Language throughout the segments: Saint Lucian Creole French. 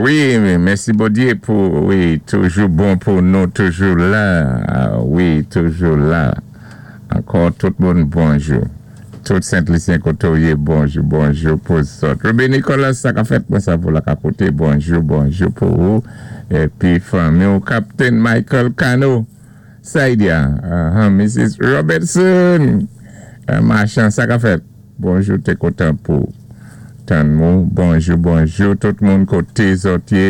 Wi, mèsi Bondyé pou wi toujou bon pou nou, toujou la, wi toujou la. Ankò tout moun bonjou. Tout Sent Lisyen koté ou yé bonjou bonjou pou zòt. Ruby Nicolas sa ka fèt mwen sa pou la ka koté bonjou bonjou pou ou épi fanmi ou Captain Michael Cano Saidia Mrs Robertson machan sa ka fèt. Bonjou te kontan pou tann mou. Bonjou bonjou tout moun koté zòt yé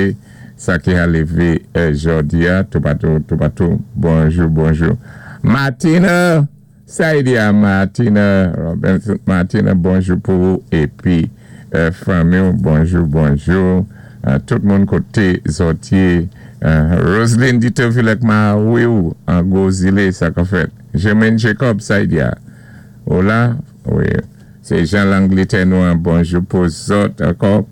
sa ki ha lévé jòdi a toupatou toupatou bonjou bonjou Martina Saidia Martina Robinson Martina bonjou pou ou épi fanmiw bonjou bonjou tout moun koté zòt yé Roseline Ditovilek mariw an gwo zilé sa ka fèt Germaine Jacob Saidia Hola wi se jan Langletè nou an bonjou pou zòt ankò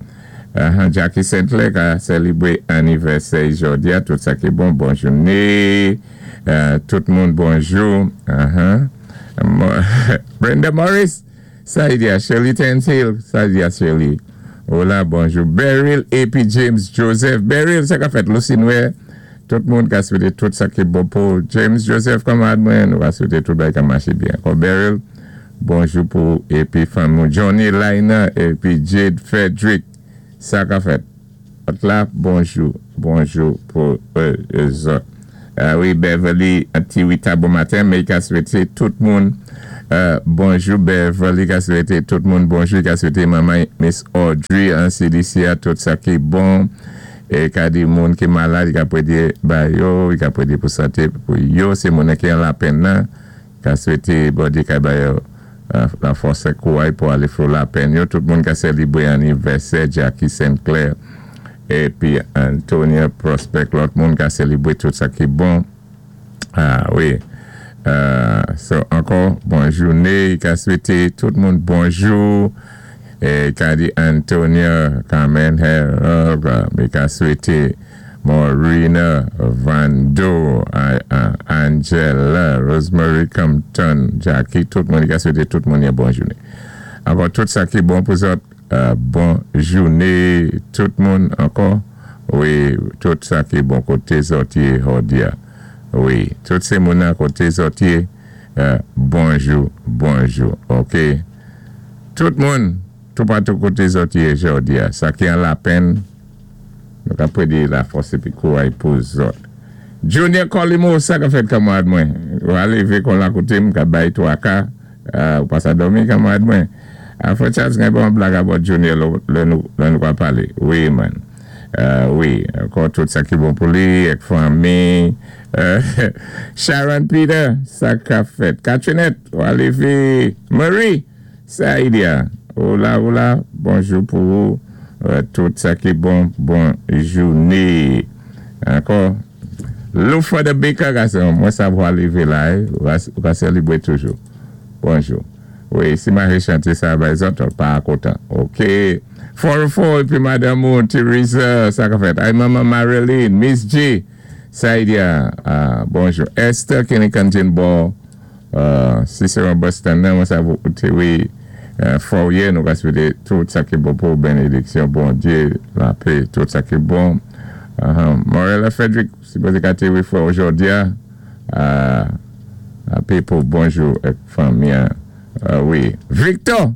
Jacky Saintclair ka sèlibre anivèsè i jòdi a tout sa ki bon bon joune tout moun bonjou Brenda Morris sa y di a Shirley Tensil sa y di a Shirley Hola bonjou Beryl epi James Joseph Beryl sa ka fèt Lucinwè Tout moun ka swete tout sa ki bon pou James Joseph kanmarad mwen nou ka swete tout bagay ka mache byen ankò Beryl bonjou pou ou epi fanmi w Johnny Laina epi Jade Frederick sa ka fèt lòt la bonjou bonjou pou zòt wi Beverly Ti Rita bon maten May ka swete tout moun bonjou Beverly ka swete tout moun bonjou ka swete manman Miss Audrey an CDC a tout sa ki bon. E ka di moun ki malad i ka pwédé ba yo, i ka pwédé pou santé pou yo, sé moun ki an lapenn nan, ka swété Bondyé ka ba yo la fòs ak kouray pou alé flou lapenn yo. Tout moun ka sèlibré anivèsè Jacky Saint Clair épi Antonia Prospect lòt moun ka sèlibré tout sa ki bon. Ah wi so ankò bon joune ka swete tout moun bonjou e ka di Antonia Carmen Harold e ka swete Morina Vando Angela Rosemary Compton Jackie tout moun ka swete tout moun yon bon joune ankò tout sa ki bon pou zòt bon joune tout moun ankò wi tout sa ki bon koté zòt yé jòdi a wi tout sé moun nan koté zòt yé bonjou bonjou ok tout moun toupatou koté zòt yé jòdi a sa ki an lapenn nou ka pwédi lafòs épi kouray pou zòt Junior Colimo sa ka fèt kanmarad mwen wa lévé kon la koté m ka bay twaka Ou pa sa dòmi kanmarad mwen. Frè Charles gen bon blag about Junior lè nou pa pale wi man wi ankò tout sa ki bon pou li ak fanmi Sharon Peter sa kap fèt Catrinette wa leve Marie Saidia ou la ou la bonjou pou ou tout sa ki bon bon joune ankò Loufa the Baker gason mwen sa vwa leve la ou ka selibre toujou bonjou wi si mahe chante sa bay zòt pa kontan ok 404 epi madanm ou Teresa sa ka fèt ay manman Marilyn Miss G Saidia bonjou Esther Kenny Kantin bò Si se yon Boston nan mwen sa pou te wi fòw ye nou ka swete tout sa ki bon pouw benediksyon Bondye lapé tout sa ki bon Morella Frederick sipoze ka te wi frèw jodia lapé pou bonjou ak fanmi an wi Victor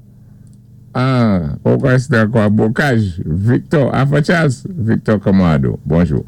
ah ou kwè se te ankò bokaj Victor Afro Charles Victor kòman ado bonjou.